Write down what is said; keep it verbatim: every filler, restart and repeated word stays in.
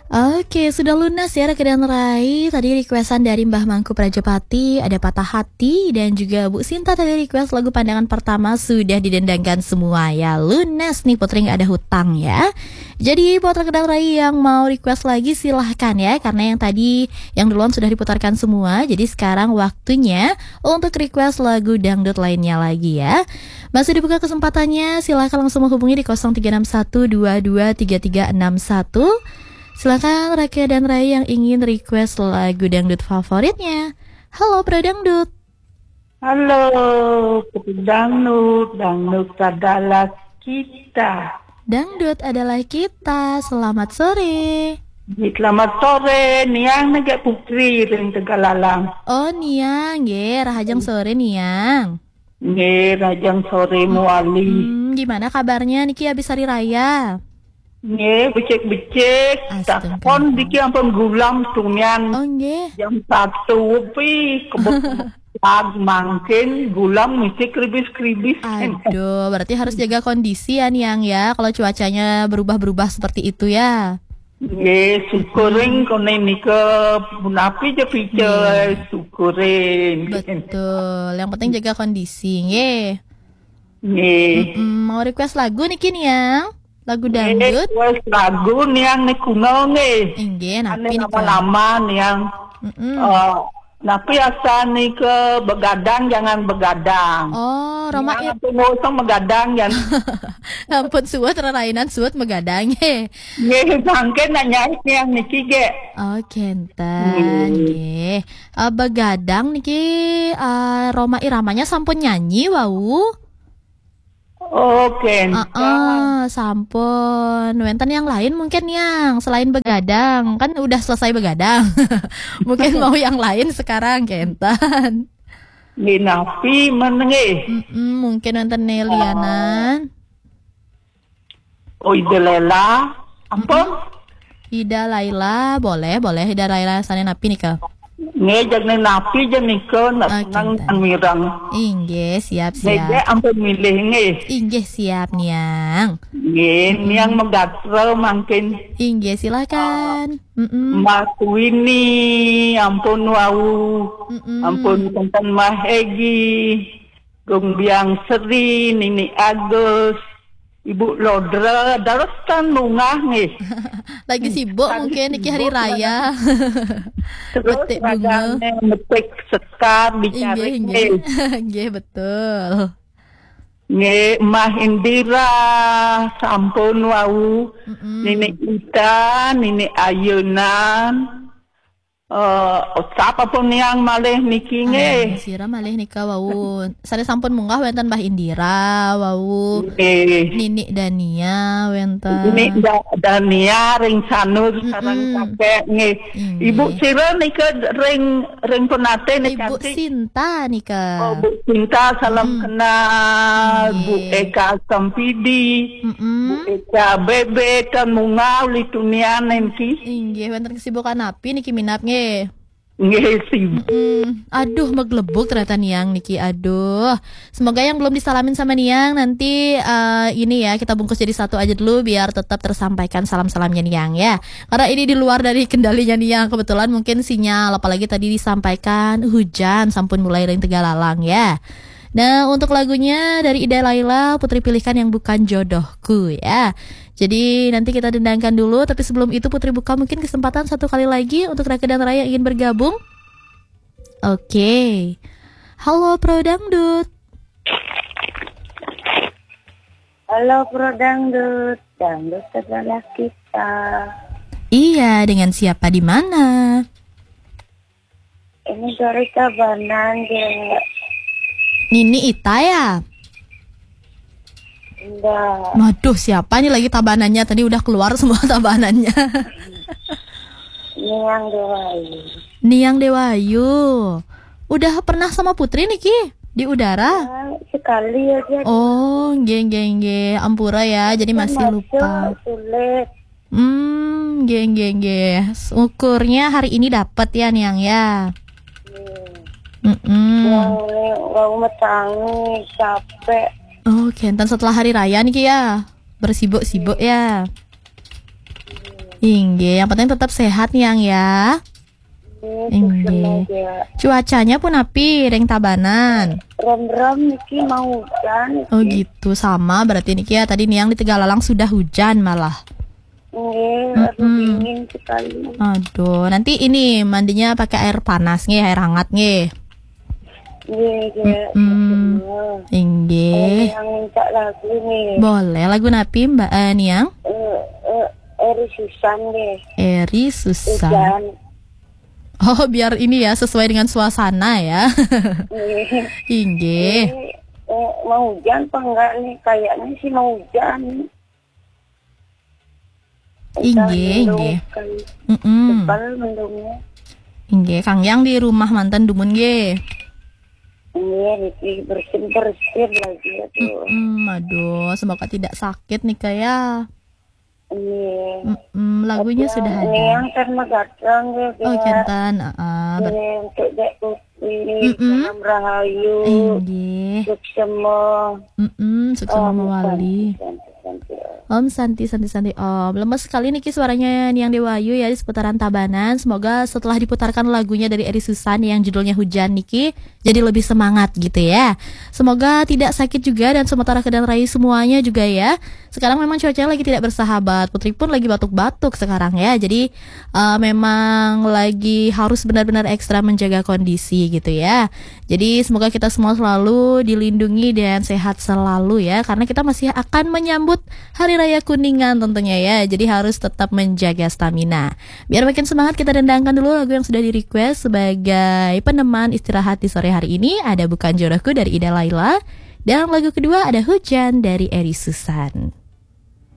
Oke, sudah lunas ya Raka dan Rai. Tadi requestan dari Mbah Mangku Prajapati, ada Patah Hati, dan juga Bu Sinta tadi request lagu Pandangan Pertama, sudah didendangkan semua ya. Lunas nih Putri, nggak ada hutang ya. Jadi buat Raka dan Rai yang mau request lagi, silahkan ya, karena yang tadi, yang duluan sudah diputarkan semua. Jadi sekarang waktunya untuk request lagu dangdut lainnya lagi ya. Masih dibuka kesempatannya, silahkan langsung menghubungi di kosong tiga enam satu dua dua tiga tiga enam satu. Silakan Raka dan Rai yang ingin request lagu dangdut favoritnya. Halo Pro Dangdut. Halo, Pro Dangdut, dangdut adalah kita. Dangdut adalah kita. Selamat sore. Selamat sore, Niang nege Putri ring Tegalalang. Oh, Niang, nggih, rahajeng sore Niang. Nggih, rahajeng sore Muali. Hmm, gimana kabarnya niki habis hari raya? Nggih, becik-becik. Astaga. Takon diki ampun gulam tumian. Oh, nggih. Jam satu pi kebut lag mangkin gulam mesti kribis-kribis. Aduh, berarti harus jaga kondisi ya Niang ya, kalau cuacanya berubah-berubah seperti itu ya. Nggih, syukuring kone nika punapi je pice, syukuring. Betul, yang penting jaga kondisi, nggih. Nggih. Mm-mm, mau request lagu niki Niang? Lagu dangdut? Request lagu Niang nikuna nggih. Inggih, napi nika? Lama-lama Niang. Mm-mm. Eh, napi asa nika begadang jangan begadang. Oh, Roma Niang ir- apa ngosong begadang jangan. Ampun suwet rerainan suwet megadang nggih. Nggih, mangke nak nyait Niang niki ge. Oh, kenten nggih. Eh, begadang niki, eh, Roma Iramanya sampun nyanyi wau. Oh, kenten. Heeh, sampun. Wenten yang lain mungkin yang selain begadang, kan udah selesai begadang. Mungkin mau yang lain sekarang kenten. Nggih napi menengih. Mm-mm, mungkin wenten nelianan. Oh, Ida Laila. Ampun? Ida Laila, boleh, boleh Ida Laila sane napi nika? Nggih, jagne napi je nika nak senang dan mirang. Inggih, siap, siap. Nggih, ampun milih nggih. Inggih, siap Niang. Nggih, Niang megatra mangkin. Inggih, silakan. Mm-mm. Mbak Wini, ampun wau. Mm-mm. Ampun kenten Mbak Hegi. Gung Biang Seri, Nini Agus, Ibu Lodra, dados tan bungah nggih. Lagi sibuk mungkin niki hari raya. Terus metik bunga. Ragane metik sekar dicari nggih. Nggih, betul. Nggih, Mbah Indira, sampun wau. Mm-mm. Nini Ita, Nini Ayunan. Eh, sapa pun Niang malih niki nggih. Sira malih nika wau. Sane sampun munggah wenten Mbah Indira wau. Nggih. Nini Dania wenten. Nini Da-, Dania ring Sanur sareng kakek nggih. Inggih. Ibu sira nika ring, ring Penate nika. Ibu Sinta nika. Oh, Bu Sinta, salam kenal. Nggih. Bu Eka Sempidi. Mm-mm. Bu Eka Bebe, tan munggah uli tunian niki. Inggih, wenten kesibukan napi niki minab nggih? Nggih, sibuk. Mm-mm. Aduh, meglebuk ternyata Niang niki. Aduh. Semoga yang belum disalamin sama Niang nanti, eh, ini ya, kita bungkus jadi satu aja dulu biar tetap tersampaikan salam-salamnya Niang ya. Karena ini di luar dari kendalinya Niang. Kebetulan mungkin sinyal, apalagi tadi disampaikan hujan sampun mulai ring Tegalalang ya. Nah, untuk lagunya dari Ida Laila, Putri pilihkan yang bukan jodohku ya. Jadi nanti kita dendangkan dulu, tapi sebelum itu Putri buka mungkin kesempatan satu kali lagi untuk Raka dan Raya yang ingin bergabung. Oke. Halo Pro Dangdut. Halo Pro Dangdut, dangdut adalah kita. Iya, dengan siapa di mana? Ini dari Tabanan, Dek. Nini Ita ya? Enggak. Waduh, siapa nih lagi Tabanannya? Tadi udah keluar semua Tabanannya. Niang Dewayu. Niang Dewayu. Udah pernah sama Putri niki di udara? Ya, sekali aja. Oh, nggih, nggih, nggih. Ampura ya, jadi masih lupa. Sulit. Hmm, nggih, nggih, nggih. Syukurnya hari ini dapat ya, Niang ya. Mm-mm. Wau, wau metangi, capek. Oh, kenten setelah hari raya niki ya. Bersibuk-sibuk ya. Inggih, yang penting tetap sehat nih, Yang, ya. Inggih. Cuacanya pun api ring Tabanan? Ram-ram niki mau hujan niki. Oh gitu, sama berarti niki ya. Tadi Niang di Tegalalang sudah hujan malah. Nggih, aduh, dingin sekali. Aduh, nanti ini mandinya pakai air panas nggih, air hangat nggih. Nggih, nggih. Inggih. Yang minta lagu nih. Boleh, lagu napi, Mbak, eh, Niang? Eh, eh, Eri Susan deh. Eri Susan. Hujan. Oh, biar ini ya, sesuai dengan suasana ya. Nggih. Inggih. Eh, eh, mau hujan apa enggak nih? Kayaknya sih mau hujan. Inggih, inggih. Kan. Mm-mm. Tebal mendungnya. Inggih, Kang Yang di rumah manten dumun nggih. Iya, niki bersin-bersin lagi, aduh. Mm-mm, aduh, semoga tidak sakit nih, Kak, ya. Iya. Mm-mm, lagunya sudah ada. Yang kan megatang ya. Oh, kenten, heeh, ber- Iya, untuk Dek Putri, salam rahayu. Inggih. Suksema. Mm-mm, suksema mawali. Om Santi, Santi, Santi, Om. Lemes sekali niki suaranya Niang Dewayu ya di seputaran Tabanan. Semoga setelah diputarkan lagunya dari Eri Susan yang judulnya Hujan niki, jadi lebih semangat gitu ya. Semoga tidak sakit juga dan sementara keadaan Rai semuanya juga ya. Sekarang memang cuacanya lagi tidak bersahabat. Putri pun lagi batuk-batuk sekarang ya. Jadi eh, memang lagi harus benar-benar ekstra menjaga kondisi gitu ya. Jadi semoga kita semua selalu dilindungi dan sehat selalu ya, karena kita masih akan menyambut Hari Raya Kuningan tentunya ya. Jadi harus tetap menjaga stamina. Biar makin semangat, kita dendangkan dulu lagu yang sudah di-request sebagai peneman istirahat di sore hari ini. Ada Bukan Jodohku dari Ida Laila. Dan lagu kedua ada Hujan dari Eri Susan.